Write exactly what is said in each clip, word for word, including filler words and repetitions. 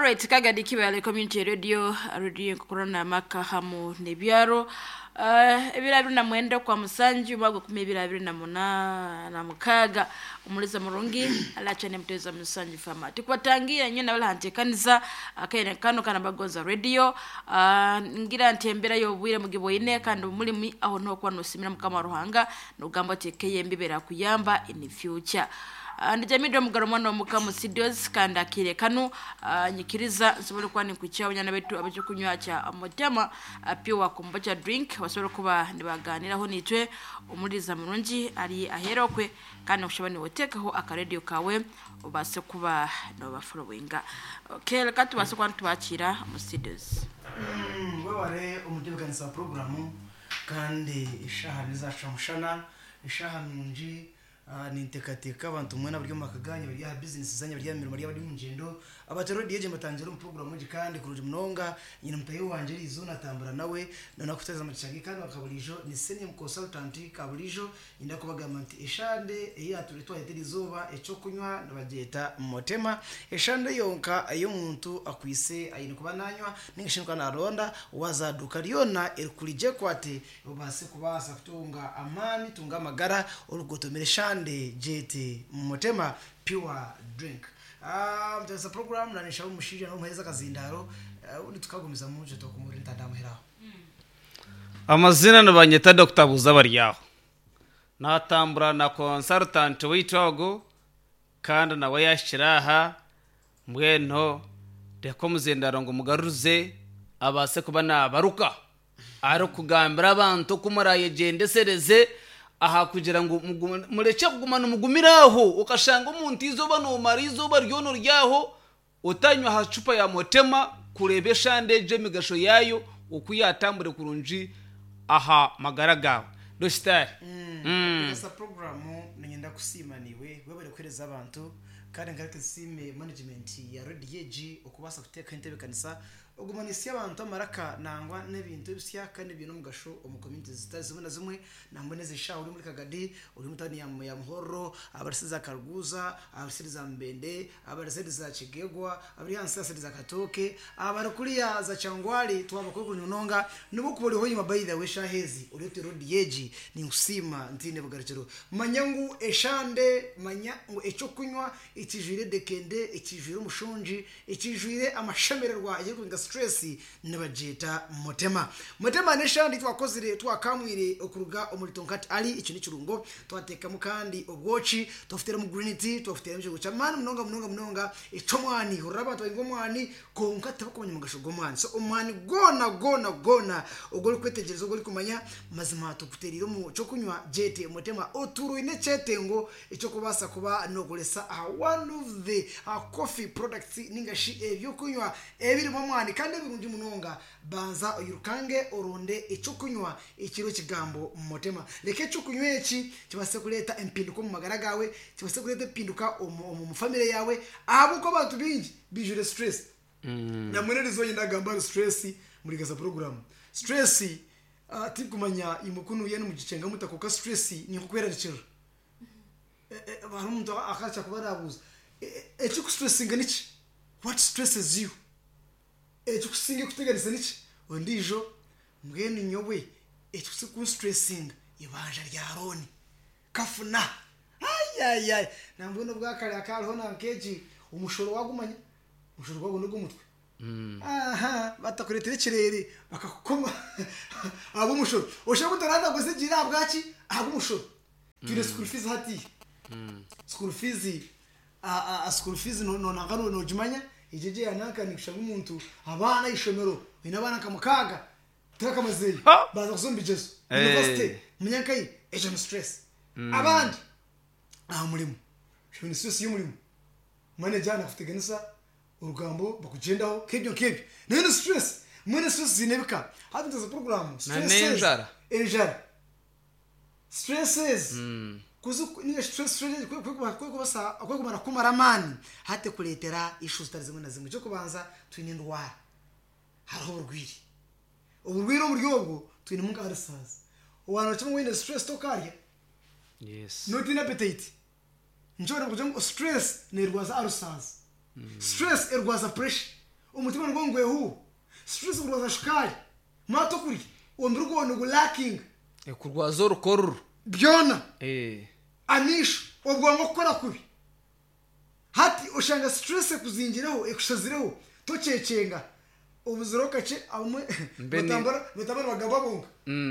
Alright, Kagadi Kibale Community Radio, radio nkukurana maka hamu nebyaro. Uh, ebiro abiri na mwenda kwa musanju mwaka kumi ebiri abiri na muna na mukaga omuliza murungi alachane muteza musanju fama tikwatangira nyina wala hantekanisa akaire kano kana bagoza radio. uh, ngira ntembera yobwire mugibwine kandi mulimi aho no kwa nosimira mukama ruhanga nugamba tekeye mbibera kuyamba in the future. Uh, ndijamidwa mugaro mwana wa mukamu studios kandi akire kanu uh, nyikiriza nsobole kuba nikucha abanyana betu abacho kya mutema uh, pure kombucha drink basobole kuba nibaganiraho nitwe umuriza murungi ari aherokwe kandi kushaba niwotekaho akaredio kawe ubase kuba no bafollowinga. Okay, reka tubase kuba tubakira mu studios. Mm, wabare umutebekanisa wa porogaramu kandi ishaha nizaca mushana ishaha nungi. uh, nintekateka abantu mwena bari mu makaganya bari aha business zanya bari mirimo bari mu ngendo abatero D J matangira mu program ngi kandi kuruji munonga nyina mutayo wanje rizo natambura nawe nona kuteza amachangi kandi bakaburijo ni senior consultant kaburijo inda kubagamba nti eshande eya turi twahitira izuba eco kunywa nabageta motema eshande yonka ayo muntu akwise ayine kuba nanywa ningishinka naronda wazaduka ryona erikurije kwate ubase kubasa kutunga amani tunga amagara urugotomera eshande jete motema pure drink. Ah, mutasa program nanisha umushije no muheza kazindaro uh, undi tukagumiza muje tokumuri ntandamuheraho. Amazina nibanyeta Doctor Buza baryaho natambura na consultant witwago kandi nawe yashira aha mbweno reka omuzindaro ngu mugaruze abase kuba nabaruka ari kugambira abantu ku murayegyendesereze aha kugira ngu mugume- mureke kugumana umugumiraho ukashanga omuntu izoba nomara izoba ryono ryaho utanywa aha cupa ya motema kureba eshande egyo emigasho yayo oku yatambure kurungi aha magara gawe dositari. Mutasa program ningenda kusimaniwe webare kuhereza abantu kandi ngareke nsime management ya Radio G okubasa kuteka intebe kanisa ogumanisi abantu amaraka nangwa n'ebintu ebisya kandi ebyo n'omugasho omu community zitari zimwe na zimwe nambone zisha uri muri Kagadi uri mutani ya, ya Muhoro, abarisiza Karuguza, abarisiza Mbende, abarisiza Kigegwa, abari hansi za Katoke, abari kuriya za Changwali twaba kuri kunyononga nubo kubori nyuma. By the way, shahezi urete Radio G ni usima ntine bugarukiro manyangu eshande manya ngo eco kunywa ikijwire dekende ikijwire umushonji ikijwire amashemererwa yo kurinda stress nibajeta motema motema neshandi twakozire twakamwire okuruga omuri tonkati ali icyo ni kirungo twatekamo kandi obwoki twafutera mu green tea twafutera mu cha mani munonga munonga munonga ico mwani huraba twingo mwani konka tabakumanya mugasho gomwani. So omwani gona gona gona ogori kwetegereza ogori kumanya mazima tukuterire mu cyo kunywa jete motema oturu ine chetengo ico kubasa kuba nogolesa aha one of the uh, coffee products ningashi ebyo kunywa ebiri mu mwani kandi ebirungi munonga. Banza oyirukange oronde ico kunywa ikiro kigambo motema leke ico kunywa eki kibase kuleta empinduka mu magara gawe, kibase kuleta empinduka omu mu family yawe abuko abantu bingi bijure stress mm. Namwe rizo ndagamba stress muri gaza program stress uh, tikumanya imukunu yenu mugicenga mutakoka stress ni kukwerarikira hari umuntu akaca kuba arabuza ekikustressinga niki? What stresses you? Ekikusinga kuteganisa niki? Ondijo mbwenu nyowe ekikusinga ibanja rya roni kafuna ayayay nambwenu bwakare akariho nankeji umushoro wagumanya umushoro gwagwo gw'umutwe aha batakuretera ikirere bakakukoma abo umushoro ushobora kutaranda gusigira bwaki abo umushoro turi school fees hati school fees a a school fees no no nangano no jumanya ijeje yanaka ni kushanga umuntu abana ishomero ina abana kamukaga turakamazeyi baza kuzumba ijeso university munyankai ejo ni stress abandi aha murimo shobora stress y'umurimo manager nakuteganisa urugambo bakugendaho kebyo kebyo nayo ni stress mwene stress zinebika hatinze program stress n'inzara. Injara stresses kuzu ni stress stress kwe kumara kumara amani hate kuletera issues zitari zimwe na zimwe. Cyo kubanza twine indwara hariho uburwiri uburwiri uburyo bwo twine mu ulcers wana kimwe wine stress tokarya yes not appetite nshobora kugira ngo stress ni irwaza ulcers, stress irwaza pressure. Omutima nigwo ngwehu. Stress kurwaza shukari. Mato kuri omubiri gwawe nigulakinga. Kurwaza orukororo. Byona. Eh. Amisho obwongo kukora kubi. Hati oshanga stress ekuzingiraho ekushazireho tokyekyenga. Obuziro kakye abamwe batambara batambara bagamba bonka.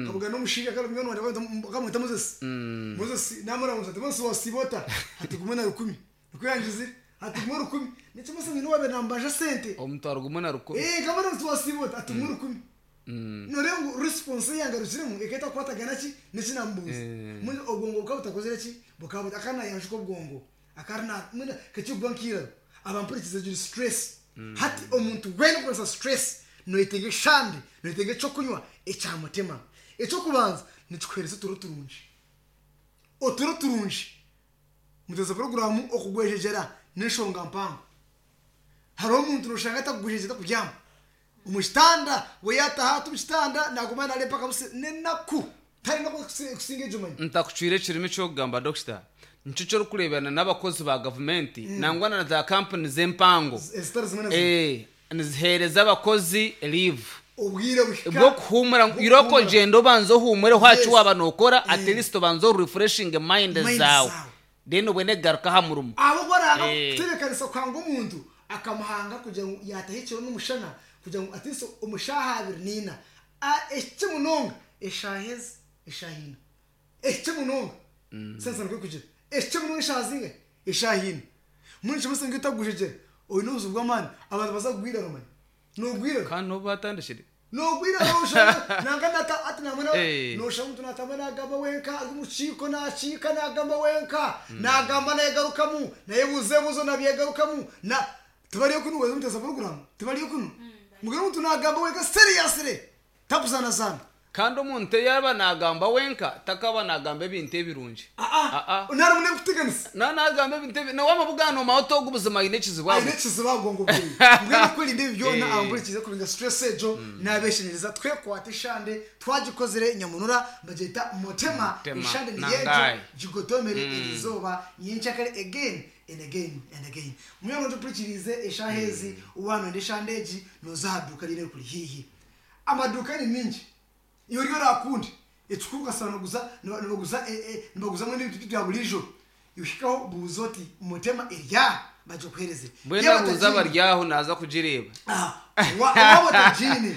Kabuga n'omushinga kandi mwana wanje bakamwita Moses. Moses namara Moses Moses wasibota hati gumwe na rukumi. Nikuyangize hati gumwe rukumi. Nikimasa ngino wabe nambaje sente. Omutwaro gumwe na rukumi. Eh kamara Moses wasibota hati gumwe rukumi. Norengo response yangarukiremu eketa kwatagana ki nekinambuza. Muri obwongo bukaba butakozire ki bukaba akana yanjuko obwongo. Akarna mwina kachigwankira abampurikize juri stress. Hati omuntu wena kukosa stress noyetenge shandi noyetenge cyo kunywa ekyamutima. Ekyokubanza nikikuhereza oturo turungi. Oturo turungi muteza programu okugwejejera n'enshonga mpango. Hariho omuntu noshanga atakugwejejera kubyama omukitanda we yataha tumukitanda naguma narepa kabuse nenaku tari no kusinga ejumanyi. Ntakucwire ekirimi kyokugamba doctor. Nico ky'orikureebana n'abakozi ba gavumenti nangwa na za kampani z'empango eh niziheereza abakozi leave obwire buhika bwo kuhumura iroko genda obanza ohumure hwacu waba nokora at least obanza refreshing mind zawe then ubone garuka ha murumo. Abo baranga kutebekanisa kwanga omuntu akamuhanga kugira ngo yatahikiro n'umushana kugira ngo at least omushaha abiri nina eki munonga eshahezi eshahina eki munonga sensa nkwe kugira eki munonga eshazinga eshahina munshi musinga itagujije oyu nuzu bw'amani abantu bazagwira romani nogwira kandi no batandishire nogwira roshana nanga nata ati namana nosha muntu natamana agamba wenka umuchiko nachika nagamba wenka nagamba nayegarukamu nayebuze buzo nabyegarukamu na tubariyo kunu weze muteza program tubariyo kunu mugero muntu nagamba wenka seriously tapuzana sana. Kandi omuntu yaba nagamba wenka takaba nagamba ebintu ebirungi. Ah ah unari mune kuteganisa na nagamba ebintu na wamabugano mauto ogubuzima ine ekizibu ine ekizibu agongo bwe mbwenu kwirinda ebi byona abamburikize kurinda stress ejo nabeshenyereza twe kwata ishande twagikozere nyamunura bageta mutema ishande ni yejo jigotomere erizoba yinchakare again and again and again. Mwe ntupurikirize eshahezi uwano ndeshandeji nozaduka rire kuri hihi amaduka ni mingi iyo ryo rakundi etukuka sana guza nibaguza nibaguza muri bintu bya bulijo yushikaho buzoti mutema erya baje kuhereze mbwena buza baryaho naza kugireba ah wabo tajine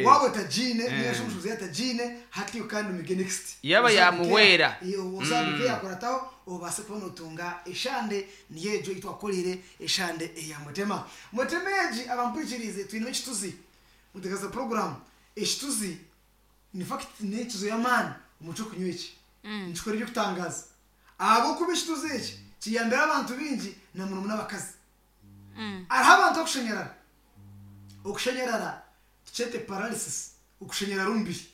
wabo tajine niyo shumshuzi yatajine hati kandi mige next yaba yamuwera iyo uzaduke yakorataho obase kubona utunga eshande niyejo itwakorere eshande eya mutema mutemeji abampurikirize twine ekituzi mutegaza program ekituzi ni fact nekizo yamani umuco kunywa iki nchikora ibyo kutangaza abo kubishituze iki kiyambera abantu bingi na murumu n'abakazi araho abantu okushenyerara okushenyerara tucete paralysis okushenyerara umubiri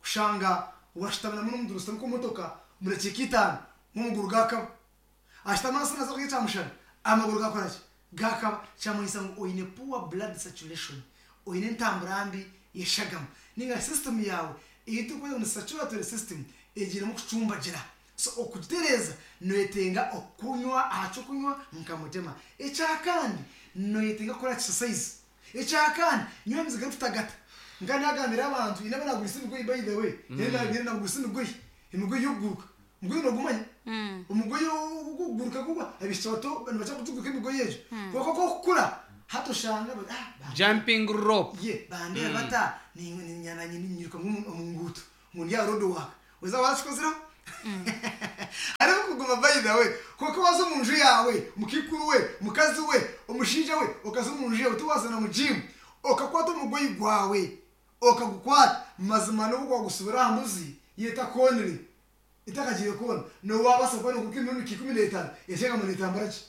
kushanga washitamana n'omuntu rusitama ku motoka murakika itanu nk'omuguru gakaba ashitama hasi naza kurya kyamushana amaguru gakoraki gakaba kyamanyisa ngu oine poor blood circulation oine entambura mbi yeshagama ninga system yawe iyitukweza ni saturatory system egiremu kucumbagira. So okutereza noyetenga okunywa acho kunywa nkamutema ekyakandi noyetenga kora exercise ekyakandi nywa miziga tutagata ngana agambira abantu inaba nagurisa imigoyi by the way yenda mm. nagurisa imigoyi imigoyi yoguruka umugoyi nogumanya umugoyi uguruka kuba abishoto nibacha kutuguka imigoyi ejo kuko kukura hatoshanga ah jumping rope ye bande bata ni nyana nyiruka mu ngutu ngo ndya road work weza wachikozira ariko kuguma by the way kuko wazo mu nju yawe mukikuru we mukazi we omushinja we okazo mu nju yawe tuwazana mu gym okakwata umugoyi gwawe okagukwata mazima no gwagusubira hamuzi yeta konri itakagiye kona no wabasa kona kuko iminu ikumi n'itanu yeshenga mu itambara ki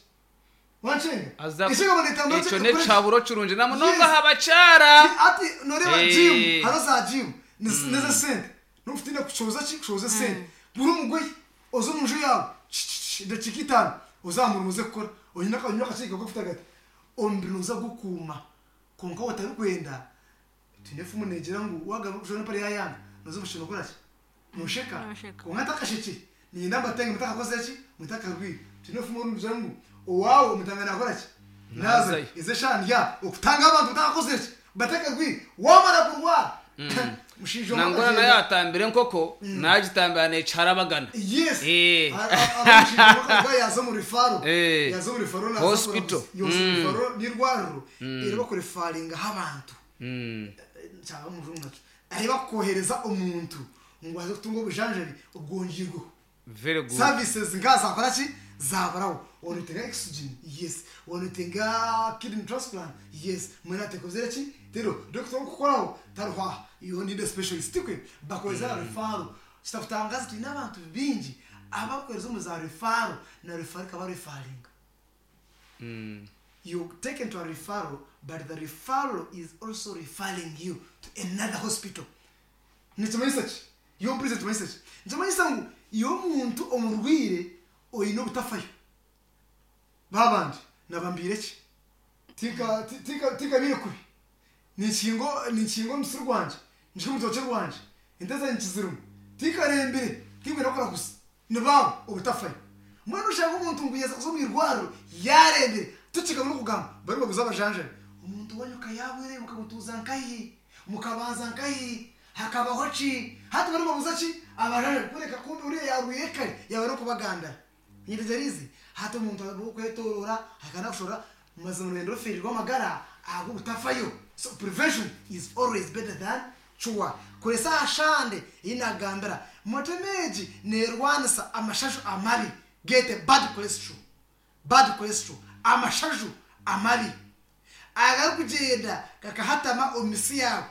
wanshenga yeshenga mu itambara ki eco ne caburo curunje na munonga habacara ati noreba gym haro za gym neze sente nufite kushoza ki kushoza sente buri umugoyi ozo mu nju yawe ndakika itanu uzamura umuze gukora onyina akanywa akakika gufite agati ombinuza gukuma konka watari kwenda tunefu munegera ngo wagaba kushona pari yayanga nozo mushino gukora ki nusheka konka takashiki ni namba tenge mutaka koze ki mutaka rwi tunefu mu nzu ngo owawe mutanga nakora ki Naza ize shandya okutanga abantu batakoze ki batekerwi wamara kurwara mushijo nangora naye atambire enkoko nagitambira nekiharabagana yes Eh. abashinzwe yaza mu rifaro Eh. yaza mu rifaro naza Hospital. yose rifaro n'irwariro iri bakurifaringa abantu Mm. cyangwa mu runaka aho bakohereza umuntu ngo aze kutunga obujanjabi ubwongirweho very good services nga zakora ki zabaraho wanotenga oxygen yes wanotenga kidney transplant yes mwena tekozere ki rero doctor okukoraho taruhwa you need a specialist kwe bakohereza mm. referral kitakutangaza tulina abantu bingi abakohereza omu za referral na referral ikaba referringa Mm. you taken to a referral but the referral is also referring you to another hospital nikimanyisa ki iyo mpurize kimanyisa ki nikimanyisa ngu iyo omuntu omurwire oine obutafayo babandi nabambire ki tika tika tikabire kubi nikingo nikingo omusiri gwanje nshike omutoke rwanje ente zanye nkizirimu tikarembire tingwine kukora gusa nibabo obutafayo mbwenu oshanga omuntu ngu yaza kuza omu irwariro yarembire tukigaba n'okugamba bari baguze abajanjabi omuntu wanyuka yabwire mukamutuuza nkahi mukabanza nkahi hakabaho ki hati bari babuza ki abajanjabi kureka kumbe uriya yarwiye kare yaba no kubagandara nyirize hati omuntu okwetorora akanakushora mazima rugendo rufirirwa amagara ago butafayo. So prevention is always better than cure. Kuresa ashande inagambira motemeji nerwanisa amashashu amabi get a bad cholesterol bad cholesterol amashashu amabi agari kugenda kakahatama omisi yawe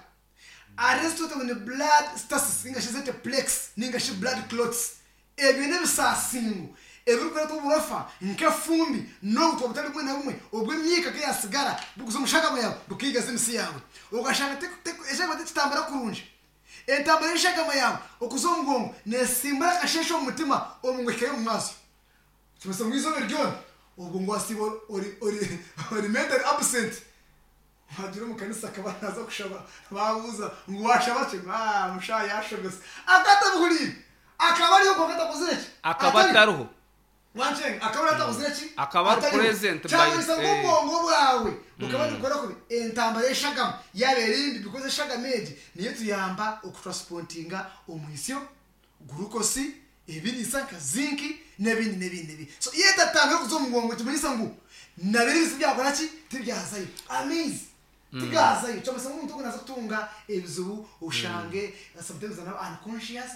arrested when blood stasis ningashi zete plaques ningashi blood clots ebyo n'ebisasingo ebirikureta oburofa nk'efumbi n'obutwa butari bumwe na bumwe obw'emyika keyasigara bukuza omushagama yawe bukigaza emisi yawe ogashanga eshagama tekitambara kurungi entambara y'eshagama yawe okuza omugongo nesimbura akasheshe omu mutima omungwekayo omu maaso kimasa ngu izooba ryona obwo ngu wasiiba ori ori ori mentally absent wagira omu kanisa akaba naza kushaba babuuza ngu washaba ki ah musha yashogose akatabuhuriire akaba ariho kwonka atakozire ki akaba atariho wanchenga akaba atakozire ki Akaba ari Atariho. present by- Kyamanyisa ngu eh. obwongo bwawe bukaba nibukora kubi entambara y'eshagama yaba erindi because eshagama egi niyo tuyamba okutransportinga omwisyo glucose ebiriisa nka zinki n'ebindi n'ebindi n'ebindi so iyo etatambura okuza omu mugongo kimanyisa ngu nabiri ebisi byakora ki tibyazayo amaizi tigazayo kyamanyisa ngu omuntu ogu naza kutunga ebizibu oshange sometimes anaba unconscious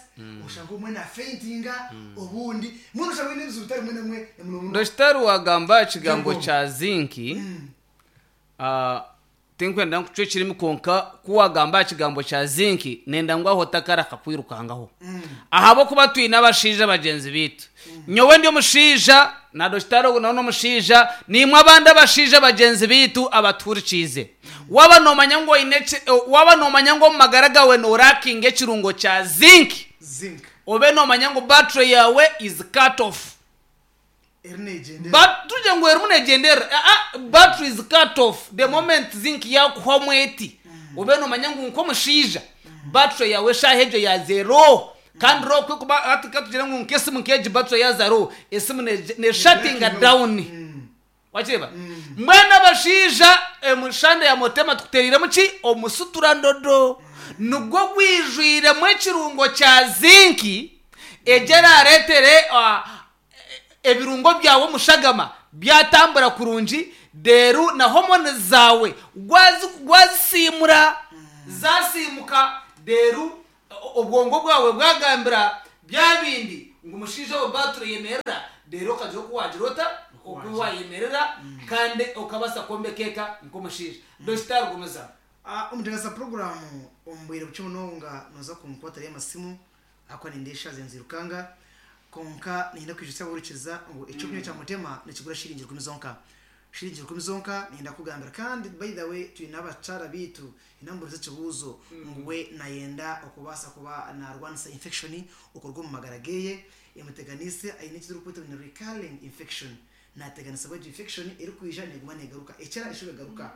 oshange omwe na faintinga obundi mbwenu oshange oine ebizibu bitari bimwe na bimwe muno muno dogitari wagamba ekigambo Yego. kya zinki ah, tinkwenda nkucwa ekirimi konka kuwagamba ekigambo kya zinki nenda ngu aho takara kakwirukangaho ahabwokuba twine abashaija bagyenzi bitu nyowe ndi omushaija na dogitari ogu nawe n'omushaija nimwe abandi abashaija bagyenzi bitu abaturikiize waba nomanya ngu oine eki- waba nomanya ngu omu magara gawe norakinga ekirungo kya zinki zinc obe nomanya ngu battery yawe is cut off eri neegyendera But tuje ngu erimu neegyendera ah, ah, battery is cut off the moment zinc yakuhwamu eti obe nomanya ngu nk'omushaija battery yawe eshaaha egyo ya zero kandi ro kwekuba hati katugire ngu nk'esimu nk'egi battery ya zero esimu ne- neshatinga down wakireba mbwenu abashaija emushanda ya motema tukutereiremu ki omusuturandodo nigwo gwijwiremu ekirungo kya zinki egyo erareetere ah, ebirungo byawe omushagama byatambura kurungi deru na homoni zawe gwazi- gwazisimura zasimuka deru o- obwongo bwawe bwagambira bya bindi ngu omushaija we battery yemerera deru okagira oku wagira ota oku wayemerera kandi okabasa kwombeka eka nk'omushaija dogitari gumiza Ah, omuteekaza puroguramu omu bwire bukye munonga noza kunkwatirayo amasimu ahakuba nindeesha zenzirukanga konka ninyenda kwijutsya abahurikiza ngu ekyokunywa kya mutema nikigura shiringi rukumi zonka shiringi rukumi zonka ninyenda kugambira kandi by the way twine abakyara bitu inamburiza ekibuuzo ngu we nayenda okubaasa kuba narwanisa infection okuruga omu magara geye emuteganise aine ekiturikweta ngu ni recurring infection nateganisibwa egyo infection erikwija neguma negaruka ekira eshuba egaruka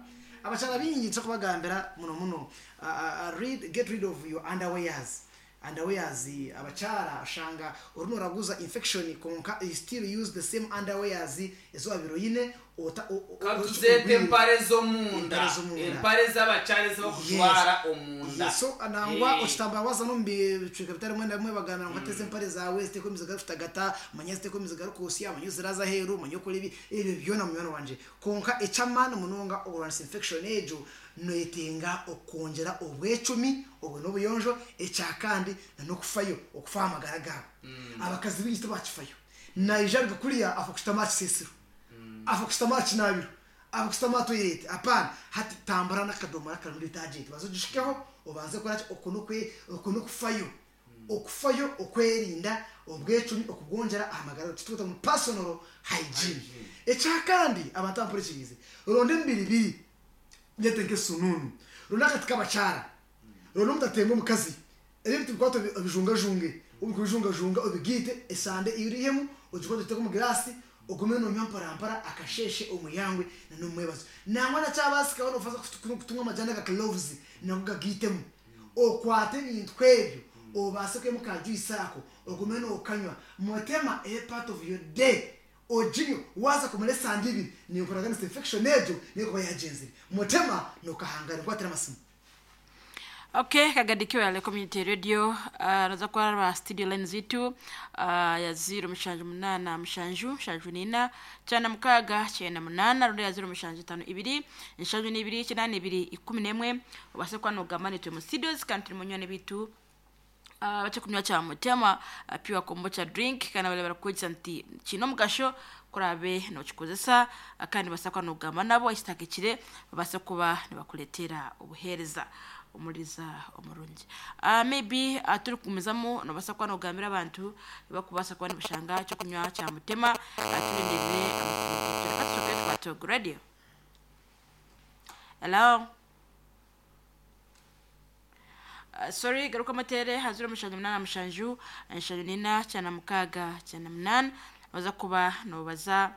abakyara bingi nsobola kubagambira muno muno uh, uh, read, get rid of your underwears underwears abakyara oshanga orimu oraguza infection konka you still use the same underwears ezo wabire oine ota- o- o- Katuzete empare z'omunda, Empare z'omunda. empare z'abakyare z'abakujwara omunda. Yes, so nangwa Eh. okitambara waza no mubicweka bitari bimwe na bimwe bagambira ngu ateze empare zawe ziteko emiziga kutagata manya ziteko emiziga arikuusya manya ziraza aheeru manya okora ebi ebyo byona munywani wanje. Konka ekyamaani munonga okurwanisa infection egyo noyetenga okwongyera obwecumi obwe n'obuyonjo. Ekyakandi nan'okufayo okufa aha magara gaabo. Abakazi baingi tibakifayo, naija aruga kuriya afa kushutama aha kisiisiro, afa kushutama aha kinaabiro, afa kushutama aha toilet. Apaana, hati tambura n'akadomora karimu detergent, banza ogishikeho obanze kukora ki. Okwo n'okwe- okwo n'okufayo, okufayo okwerinda, obwecumi okubwongyera aha magara, kitukweta ngu personal hygiene. Ekyakandi, abantu abampurikiriize, ronda emibiri biri nyete nk'esununu, ronda akati k'abakyara, ronda omutatemba omukazi, ebintu bikwata obijungajunge, obikubijungajunga obigiite esande irihemu, ogikwate ogiteeke omu girasi, ogume nonywa mparampara akasheshe, omuyangwe nanomwebazo. Nangwa nakyabasikaho nofaza kutumwa amajani aga cloves nago gagiitemu, okwate ebintu ebyo obaase kwemu ka juice ako, ogume nokanywa mutema a part of your day, oginywe. Waza kumara esande ibiri, ninkoraganisa infection egyo nekuba yagyenzire mutema nokahangara. Nkwatira amasimu. Okay, kagadikiwa yale Community Radio. uh, naza kwaraba studio line zitu uh, ya ziro mushanju munana mushanju mushanju nina cyana mukaga cyenda munana, rundi ya ziro mushanju tano ibiri nshanju n'ibiri cyenda ibiri ikumi n'emwe. Ubase kwanogama nitwe mu studios kandi turi munywani bitu uh, bace kunywa kya mutema uh, pure kombucha drink, kandi bale barakwegesa nti kino omugasho kurabe nokikozesa, uh, kandi basa kwanogama nabo ekitakikire babase kuba nibakuletera obuheereza. Omuriza omurungi, uh, maybe uh, turi kugumizamu nobasa kuba nogambira abantu bakubasa kuba nibashanga kyokunywa kya mutema, uh, tulindirire amasimu gitu. Reka tusoke twatogo radio. Hello. Uh, sorry, garuka amatere hazira mushanju munana mushanju nshanju nina cyana mukaga cyana munana, baza kuba nobaza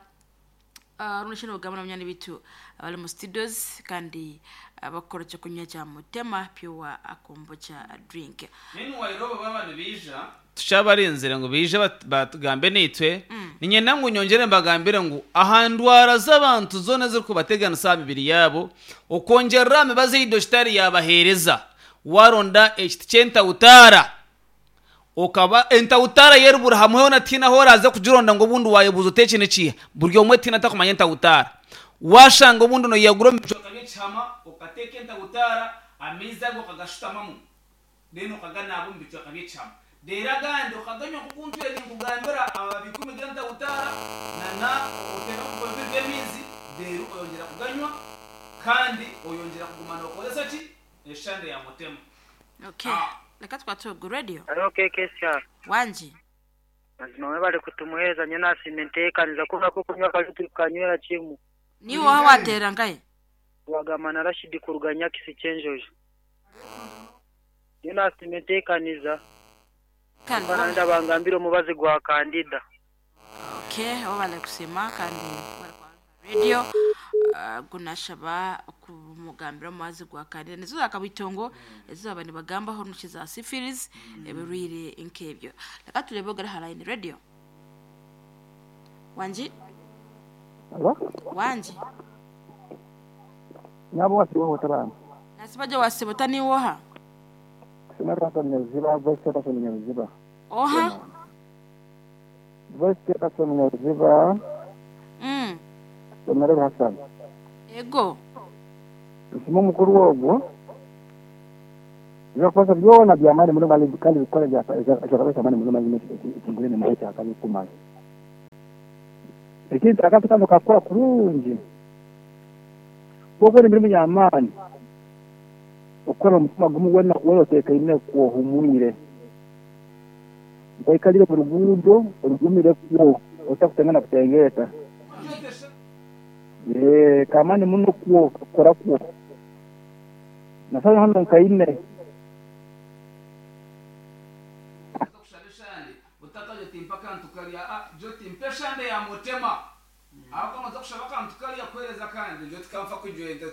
uh, runo shino gamba n'abanyani bitu abali mu studios kandi abakora cyo kunywa cya mutema pure kombucha drink. Meanwhile, bo abantu bija tushabarinzire ngo bije bat- batugambe nitwe, ninyenda ngu nyongere mbagambire ngu ahandwara z'abantu zona ziri kubateganisa aha mibiri yabo, okwongerera emibazi ei dogitari yabaheereza, waronda ekiti ky'entawutaara, okaba entawutaara yerubura hamwe hona tiina aho oraza kugironda ngu obundi wayebuuza oti eki nikiiha, buri omwe tiina atakumanya entawutaara. Washanga obundi noyagura omu bicweka by'ekihama, okateeka entawutaara amaizi ago okagashutamamu, then okaganaaba omu bicweka by'ekihama, reero agandi okaganywa nkoku ntwire ninkugambira, amababi ikumi g'entawutaara nana oteeka omu bibiri by'amaizi, reero oyongyera kuganywa kandi oyongyera kuguma nokozesa ki eshande ya mutema. Okay. Ah. Reka twatogo radio. Hariho K K S R. Wanji. Mazima mwebale kutumuheereza, nyo nasiima enteekaniza kuba ko kunywa kali tukanywera kimu. Niwe waha watera nkaye? Wagamba na Rashidi kuruga Nyakisi Kyenjojo. Nyo nasiima enteekaniza. Kandi Bana ndabangambira omubazi gwa kandida. Okay, abo bari kusima kandi bari kwa radio, uh, gunashaba kumugambira omubazi gwa kandida nizo zakabitongo ezo aba nibagambaho nuki za syphilis, ebirwire nk'ebyo. Reka turebe ogari ha line. Radio, wanji. Alo? Wanji. Nyabo wasiwohota bana. Nasibaje wasibota niwoha? Sinarasa Nyaruziba, Vice Chairperson Nyaruziba. Oha? Vice Chairperson Nyaruziba, mm. Honorable Hassan. Ego. Nsima omukuru ogwo. Ebyakukozesa byona byamaani muno kandi kandi bikora ekyakabesa amaani muno mazima ekigure nemara ekyakabi kumara. Ekintu akantu kano kakora kurungi. Kwokora emirimu y'amaani. Okukora omutima gumu wena wena oteekaine kwohumwire. Nkoikalire mu ruguudo orugumire kwo otakutengana kutengeeta. Ee, kamani muno kwo kukora kwo. Nasana hano nkaine. Kushaba eshande utakaje timpa akantu karya, ah, jo timpa eshande ya mutema aho kamaze kushaba akantu karya kuhereza kandi jo tikamfa kujwenta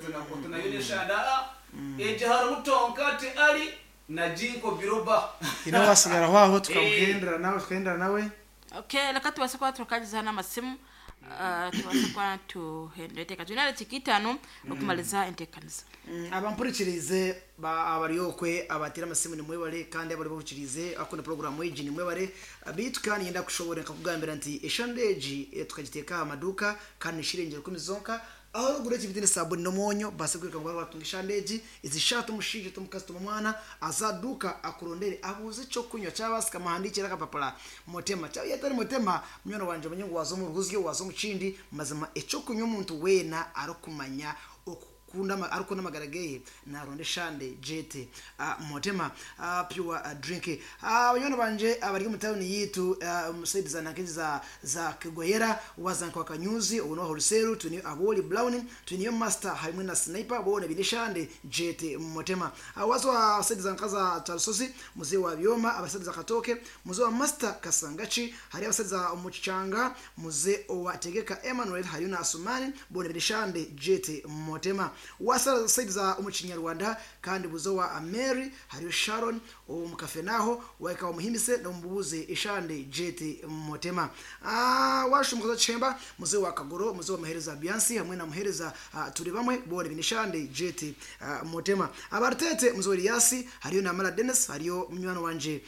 tunayo n'eshande, ah, eje hari mutonka ati ali na jinko biroba. Ino wasigara aho aho tukamugendera nawe, tukagendera nawe. Okay, reka tubase kuba tukagiza n'amasimu. uh, tubase kuba tuhenda enteekaniza twine edakika itaano okumaliza enteekaniza. Mm, abampurikirize ba- abaryokwe abatera amasimu nimwebare, kandi abari bahukirize akunda porogaramu egi nimwebare. Bitu kandi yenda kushobora nkakugambira nti eshande egi eh, tukagiteeka aha maduuka kandi nishirengera kumi zonka aho ruguru ekibiti ni sabuni n'omwonyo basa kwireka ngu batunga eshande egi ezishatu omushaija omukazi tuma omwana azaduka akurondere abuuze ekyokunywa kyabasika muhandikire akapapura mutema cyaba yatari mutema munywani wanje omenye ngu waza omu ruguzyo waza omu kindi. Mazima ekyokunywa omuntu weena arikumanya okukunda ama- arikukunda amagara geye naronda eshande jete uh, mutema uh, pure uh, drink. Abanywani banje abari omu tawuni yitu uh, musaidi za nankezi za za Kigwayera wazanka wakanyuzi uno wholesale tuni aboli brown tuniyo master hamwe na sniper bona binishande jete mutema. uh, wazo wa saidi za nkaza tarusozi muzee wa byoma abasaidi za katoke muzee wa master kasangachi hari abasaidi za omukichanga muzee wa tegeka Emmanuel hariyo na Asumani bona binishande jete mutema. Wasa saidi za omukinyarwanda kandi buzo wa Mary hariyo Sharon omukafenaho waika omuhimbise nomubuuze ishande jete mutema. Ah, washumukaza chemba muzee wa kagoro muzee wa muhereza Biansi hamwe na muhereza uh, turi bamwe bone binishande jete uh, mutema. Abarutete muzee wa Eliasi hariyo na Mara Dennis hariyo munywani wanje.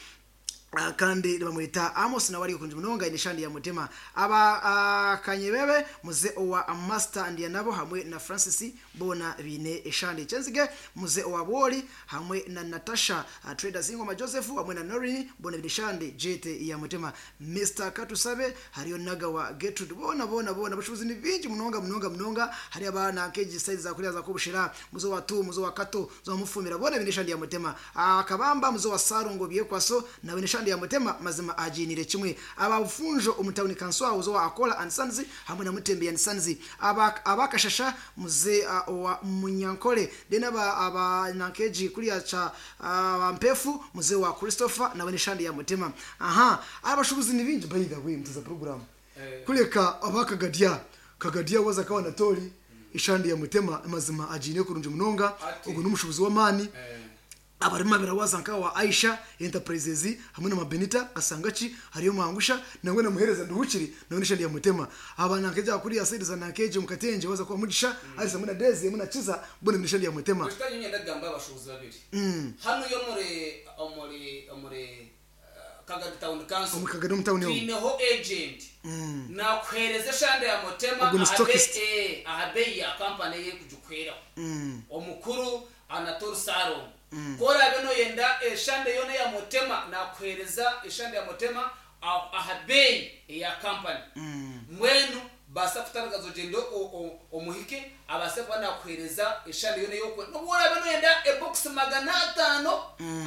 Uh, kandi bamwita Amos nawe ari kunje munonga inishandi ya mutema. Aba uh, kanyebebe muze owa master ndiya nabo hamwe na Francis bona bine eshandi chenzige muze owa boli hamwe na Natasha uh, traders ingoma Joseph hamwe na Norini bona bine shandi jete ya mutema. Mister Katusabe hariyo naga wa Gertrude bona bona bona bashuzi ni bingi munonga munonga munonga hari abana keji size za kuriya za kubushira muze wa tu muze wa kato zo mufumira bona bine shandi ya mutema. uh, kabamba muze wa Sarungo byekwaso na bine shandi ya mutema mazima ajinire kimwe. Abafunjo omutawuni kanswa uzo wa Akola and Sons hamwe na Mutembe and Sons aba abakashasha muze uh, wa Munyankole dena aba, aba nankeji kuriya cha uh, mpefu muze wa Christopher na weneshandi ya mutema. Aha, abashubuzi ni bingi by the way mtuza program eh. Kuleka abakagadia kagadia waza kawa natori ishandi ya mutema mazima ajine kurunje munonga ugo numushubuzi wa mani eh. Abarima birawaza nka wa Aisha Enterprises hamwe na Mabenita Kasangachi hariyo mwangusha nangwe namuhereza nduhukiri nawe nishandi ya mutema. Abana nkeja kuri ya side za nankeje mukatenje waza kwa mugisha ari samwe na Deze muna chiza bona nishandi ya mutema. Gushita nyine ndagamba abashubuzi babiri hano yo muri muri muri Kagadi Town Council Omu Kagadi Town yo. twineho agent nakwereza shande ya mutema Ubwo ni stockist. ahabe ahabe ya company ye kujukwera omukuru Anatole Saro kora beno yenda eshande yone ya mutema nakwereza eshande ya mutema ahabe ya company mwenu basa kutangaza ogendo omuhike abase kuba nakwereza eshande yone yokwe nobora beno yenda e box magana atano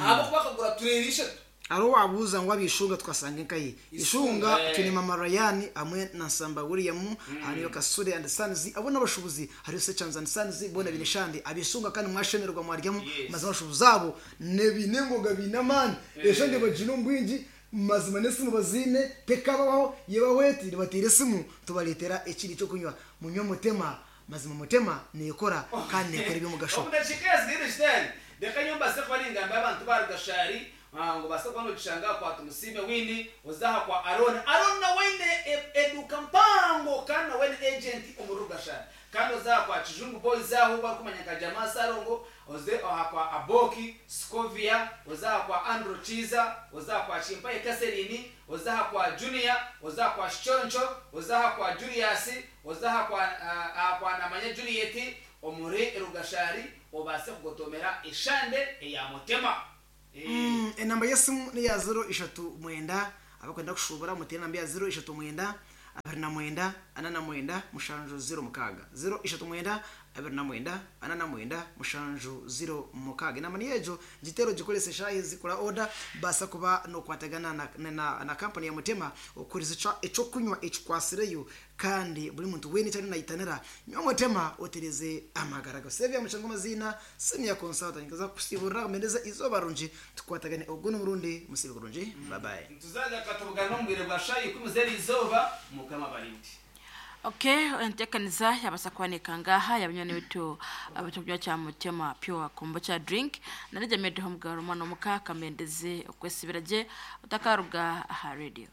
abo bakagura turerisha aro wabuza ngo abishunga twasanga inkayi ishunga eh. tuni mama Ryan amwe na Nsamba William hariyo Kasure and Sons abo n'abashubuzi hariyo Sechanz and Sons bona binishandi abishunga kandi mwashemerwa mwaryamu Yes. mazima abashubuzi abo nebine ngoga binamani eshande bajino mbwingi mazima nesimu bazine tekabaho yebaweti batire simu tubaletera ekiri cyo kunywa munywe mutema mazima mutema nekora kandi nekora ibyo Omudakika zigire shitani reka nyumba se kuba ningamba abantu barugashari ngo basa kuba nogishanga kwa Tumusime wini ozaha kwa Aron Aron na wene eduka mpango kandi na wene agent omurugashari kandi ozaha kwa Kijungu boys aho bakumanya ka jamaa Sarongo oze oha kwa Aboki Scovia ozaha kwa Andrew Chiza ozaha kwa Chimpaye Kaserini ozaha kwa Junior ozaha kwa Shoncho ozaha kwa Julius ozaha kwa uh, kwa Namanya Juliet omuri erugashari obase kugotomera eshande eya mutema. Mm, enamba yesimu ni ya zero ishatu mwenda abakwenda kushubura mutere namba ya zero ishatu mwenda abiri na mwenda ana na mwenda mushanju zero mukaga zero ishatu mwenda abiri na mwenda ana na mwenda mushanju zero mukaga. Enamba ni ejo gitero gikoresa shahi zikora order basa kuba no kwatagana na, na, na, na company ya mutema okuriza ico eco kunywa ekikwasireyo kandi buri muntu wene cyane nayitanira nywa mutema otereze amagara gasevya muchango mazina senior consultant ngaza kusibura mendeza izo barunji tukwatagane ogwo n'umurundi musibe kurunji bye bye. Tuzaja katubugana n'omubwire bwa shayi kumuzeri izoba mukama barindi. Okay, entekaniza yabasa kwanika ngaha yabanyoni bitu abachokunywa cha mutema pure kombucha drink narija medeho mugaro mwana muka kamendeze okwesibiraje utakaruga aha radio.